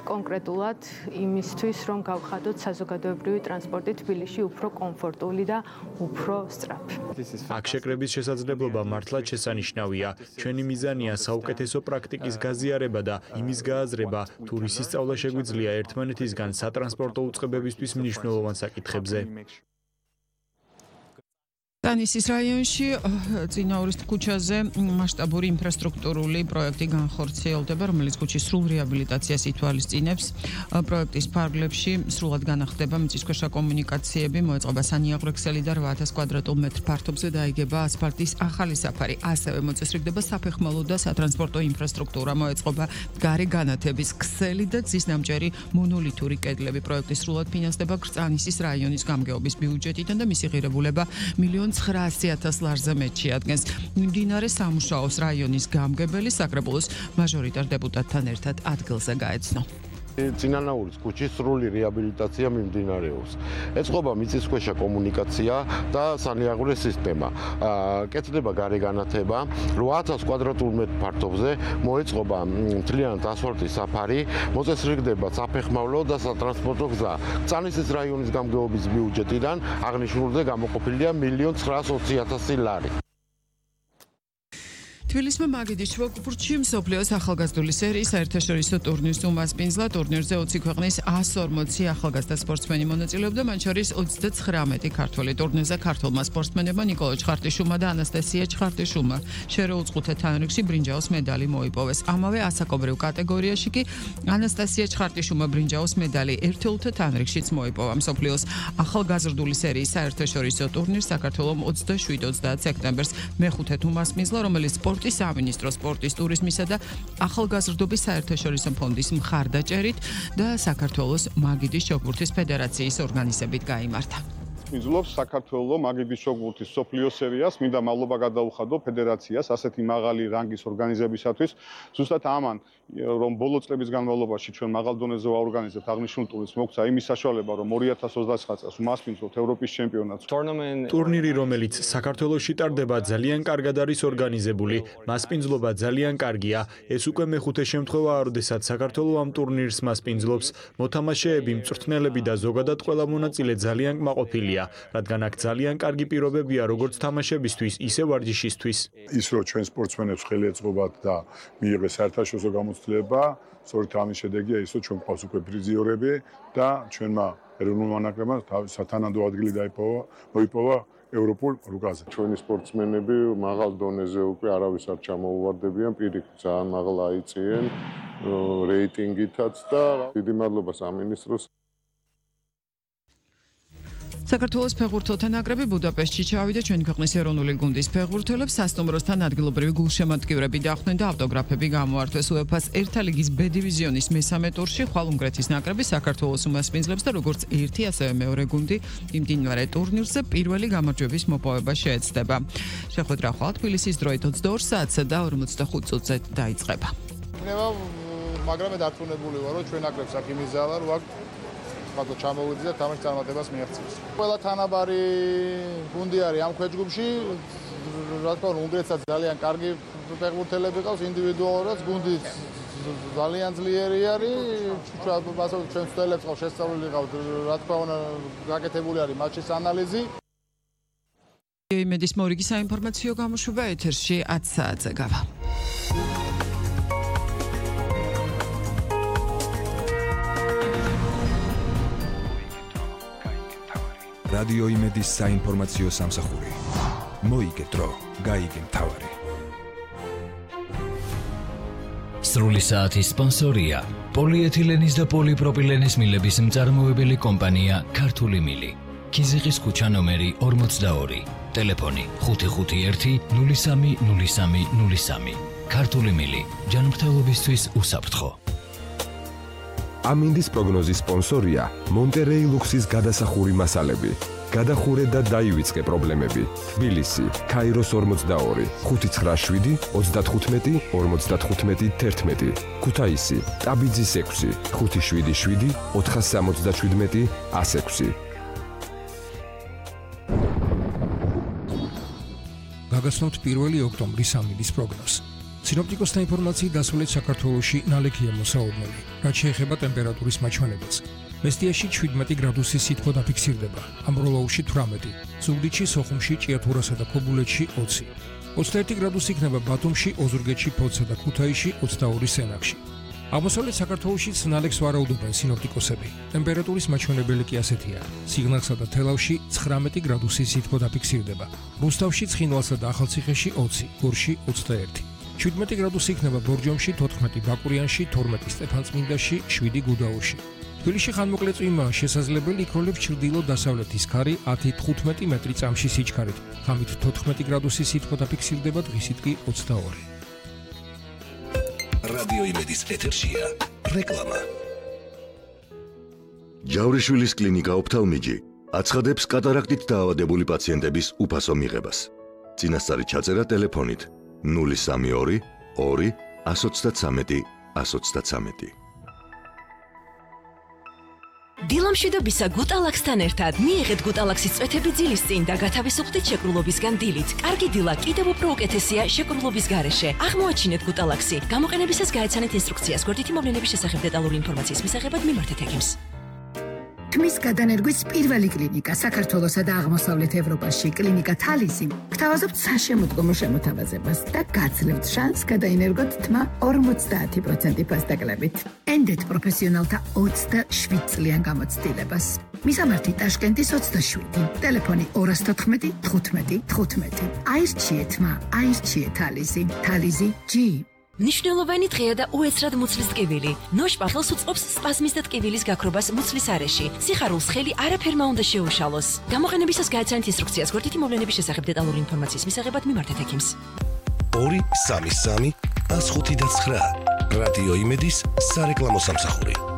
კონკრეტულად იმისთვის, რომ გავხადოთ საზოგადოებრივი ტრანსპორტი თბილისში უფრო კომფორტული და უფრო სწრაფი. აქ შეკრების შესაძლებლობა მართლაც შესანიშნავია. ჩვენი მიზანია საუკეთესო პრაქტიკის გაზიარება და იმის გააზრება, თუ რისი სწავლა შეგვიძლია ერთმანეთისგან სატრანსპორტო უწყებებისთვის მნიშვნელოვან საკითხებზე. ტანისის რაიონში წინაურის ქუჩაზე მასშტაბური ინფრასტრუქტურული პროექტი განხორციელდება, რომელიც ქუჩის სრულ რეაბილიტაციას ითვალისწინებს. პროექტის ფარგლებში სრულად განახდება მიწისქვეშა კომუნიკაციები, მოეწყობა სანიაღვრექსელი და 8000 კვადრატულ მეტრ ფართობზე დაიგება ასფალტის ახალი საფარი. ასევე მოწესრიგდება საფეხმავლო და სატრანსპორტო ინფრასტრუქტურა, მოეწყობა გარე განათების ქსელი და გზის ნამჭერი მონოლითური კედლები. პროექტი სრულად ფინანსდება ტანისის რაიონის გამგეობის ბიუჯეტიდან და მისი ღირებულება 1,900,000 ლარზე მეტში ადგენს. მდინარე სამუშაოს რაიონის გამგებელი საკრებულოს მაჟორიტარ დეპუტატთან ერთად ადგილზე გაეცნო. წინანაურის ქუჩის სრული რეაბილიტაცია მიმდინარეობს. ეწყობა მიწისქვეშა კომუნიკაცია და სანიაღვრე სისტემა. კეთდება გარე განათება, 8000 კვადრატულ მეტრ ფართობზე მოეწყობა მთლიანად ასფალტის საფარი, მოწესრიგდება საფეხმავლო და სატრანსპორტო გზა. წანისის რაიონის გამგეობის ბიუჯეტიდან აღნიშნულზე გამოყოფილია 1,920,000 ლარი. თბილისმა მაგიდის შუაგულში მსოფლიოს ახალგაზრდული სერიის საერთაშორისო ტურნირს უმასპინძლა. ტურნირზე 20 ქვეყნის 140 ახალგაზრდა სპორტსმენი მონაწილეობდა, მათ შორის 39 ქართველი. ტურნირზე ქართველმა სპორტსმენებმა ნიკოლო ჩხარტიშუმა და ანასტასია ჩხარტიშუმა შერეუწყუთა თანრიგში ბრინჯაოს მედალი მოიპოვეს. ამავე ასაკობრივ კატეგორიაში კი ანასტასია ჩხარტიშუმა ბრინჯაოს მედალი ერთეულთა თანრიგშიც მოიპოვა. მსოფლიოს ახალგაზრდული სერიის საერთაშორისო ტურნირს საქართველოს 27-30 სექტემბერს მეხუთედ უმასპინძლა, რომელიც სამინისტრო სპორტის, ტურიზმისა და ახალგაზრდობის საერთაშორისო ფონდის მხარდაჭერით და საქართველოს მაგიდის შოგურთის ფედერაციის ორგანიზებით გაიმართა. მიზულობს საქართველოს მაგიდის შოგურთის სოფლიო სერიას, მინდა მადლობა გადაუხადო ფედერაციას ასეთი მაღალი რანგის ორგანიზებისათვის. ზუსტად ამან, რომ ბოლო წლების განმავლობაში ჩვენ მაღალ დონეზე ვაორგანიზებთ აღნიშნულ ტურნირს, მოგცა იმის საშუალება, რომ 2029 წელს უმასპინძლოთ ევროპის ჩემპიონატს. ტურნირი, რომელიც საქართველოში ტარდება, ძალიან კარგად არის ორგანიზებული. მასპინძლობა ძალიან კარგია. ეს უკვე მეხუთე შემთხვევაა, როდესაც საქართველოს ამ ტურნირს მასპინძლობს. მოთამაშეები, მწვრთნელები და ზოგადად ყველა მონაწილე ძალიან კმაყოფილია. რადგან აქ ძალიან კარგი პირობებია როგორც თამაშებისთვის, ისე ვარჯიშისთვის. ის რომ ჩვენ სპორტსმენებს ხელი ეწყობათ და მიიღეს საერთაშორისო გამოცდილება, სწორედ ამის შედეგია ის, რომ ჩვენ გვყავს უკვე პრიზიორები და ჩვენმა ეროვნულმა ნაკრებმა სათანადო ადგილი მოიპოვა ევროპულ რუგაზე. ჩვენი სპორტსმენები მაღალ დონეზე უკვე არავის არ ჩამოუვარდებიან, პირიქით ძალიან მაღლა აიწიენ რეიტინგითაც და დიდი მადლობა სამინისტროს. საქართველოს ფეხბურთელთა ნაკრები ბუდაპეშტში ჩავიდა. ჩვენი ქვეყნის ეროვნული გუნდის ფეხბურთელებს სასტუმროსთან ადგილობრივი გულშემატკივრები დახვდნენ და ავტოგრაფები გამოართვეს. UEFA-ს ერთა ლიგის B დივიზიონის მესამე ტურში ხვალ უნგრეთის ნაკრები საქართველოს უმასპინძლებს და როგორც ერთი, ასევე მეორე გუნდი იმდინარე ტურნირზე პირველი გამარჯვების მოპოვება შეეცდება. შეხვედრა ხვალ თბილისის დროით 22 საათსა და 45 წუთზე დაიწყება. მაგრამ მე დარწმუნებული ვარ, რომ ჩვენ ნაკრებს აქ იმიზალა, რომ აქ ხალხო ჩამოვიდეს და თამაშის წარმატებას მიაღწევს. ყველა თანაბარი გუნდი არის ამ ქვეჯგუფში. რა თქმა უნდა, უნგრეთსაც ძალიან კარგი ფეხბურთელები ყავს, ინდივიდუალურად გუნდი ძალიან ძლიერი არის. ჩვენ ცდელებს ყავს შესწავლილი ყავს, რა თქმა უნდა, გაკეთებული არის მატჩის ანალიზი. იმედის მორიგი საინფორმაციო გამოშვება ეთერში 10 საათზე გავა. რადიო იმედის საინფორმაციო სამსახური. მოიგე დრო, გაიგე მთავარი. სრული საათის სპონსორია პოლიეთილენის და პოლიპროპილენის მილების მწარმოებელი კომპანია ქართული მილი. ქიზიყის ქუჩა ნომერი 42. ტელეფონი 551 03 03 03. ქართული მილი. ჯანმრთელობისთვის უსაფრთხო. ამინდის პროგნოზის სპონსორია მონტერეი ლუქსის გადასახური მასალები. გადახურე და დაივიწყე პრობლემები. თბილისი, ქაიროს 42, 597 35 55 11. ქუთაისი, ტაბიძის 6, 577 477 106. გაგაცნობთ 1 ოქტომბრის ამინდის პროგნოზს. სინოპტიკოსთა ინფორმაციით დასავლეთ საქართველოში ნალექია მოსაუბნელი, რაც შეეხება ტემპერატურის მაჩვენებელს. მესტიაში 17 გრადუსი სითბო დაფიქსირდება, ამბროლაურში 18, ზუგდიდში, სოხუმში, ჭიათურასა და ქობულეთში 20. 21 გრადუსი იქნება ბათუმში, ოზურგეთში, ფოთსა და ქუთაისში, 22 სენაკში. აღმოსავლეთ საქართველოშიც ნალექს ვარაუდობენ სინოპტიკოსები. ტემპერატურის მაჩვენებელი კი ასეთია: სიღნაღსა და თელავში 19 გრადუსი სითბო დაფიქსირდება, რუსთავში, ცხინვალსა და ახალციხეში 20, გორში 21. 17 გრადუსი იქნება ბორჯომში, 14 ბაკურიანში, 12 სტეფანწმინდაში, 7 გუდაურში. თბილისში ხანმოკლე წვიმაა შესაძლებელი, იქროლებს ჩრდილო-დასავლეთის ქარი 10-15 მეტრი წამში სიჩქარით. ღამით 14 გრადუსი სითბო დაფიქსირდება, დღისით კი 22. რადიო იმედის ეთერშია რეკლამა. ჯავრიშვილის კლინიკა ოფთალმიჯი აცხადებს კატარაქტით დაავადებული პაციენტების უფასო მიღებას. წინასწარი ჩაწერა ტელეფონით 032 2 133 133. დილამშვიდობისა გუტალაქსთან ერთად მიიღეთ გუტალაქსის წვეთები ძილის წინ და გათავისუფლდით შეკრულობისგან დილით. კარგი დილა კიდევ უფრო უკეთესია შეკრულობის გარეშე. აღმოაჩინეთ გუტალაქსი. გამოყენებისას გაეცანეთ ინსტრუქციას. გვერდითი მოვლენების შესახებ დეტალური ინფორმაციის მისაღებად მიმართეთ ექიმს. თმის გადანერგვის პირველი კლინიკა საქართველოსა და აღმოსავლეთ ევროპაში კლინიკა თალისი გთავაზობთ საშემოდგომო შემოთავაზებას და გაძლევთ შანსს გადაინერგოთ თმა 50% ფასდაკლებით. ენდეთ პროფესიონალთა 27 წლიან გამოცდილებას. მისამართი ტაშკენტის 27, ტელეფონი 214 15 15. აირჩიეთ თმა, აირჩიეთ თალისი. თალისი G. ნიშნულოვანი დღეა და უეცრად მუცლის ტკივილი. ნოშპახელს უწყობს სპაზმის და ტკივილის გაქრობას მუცლის არეში. სიხარულს ხელი არაფერმა უნდა შეუშალოს. გამოყენებისას გაეცანეთ ინსტრუქციას. გვერდითი მოვლენების შესახებ დეტალური ინფორმაციის მისაღებად მიმართეთ ექიმს. 233 105 და 9 რადიო იმედის სარეკლამო სამსახური.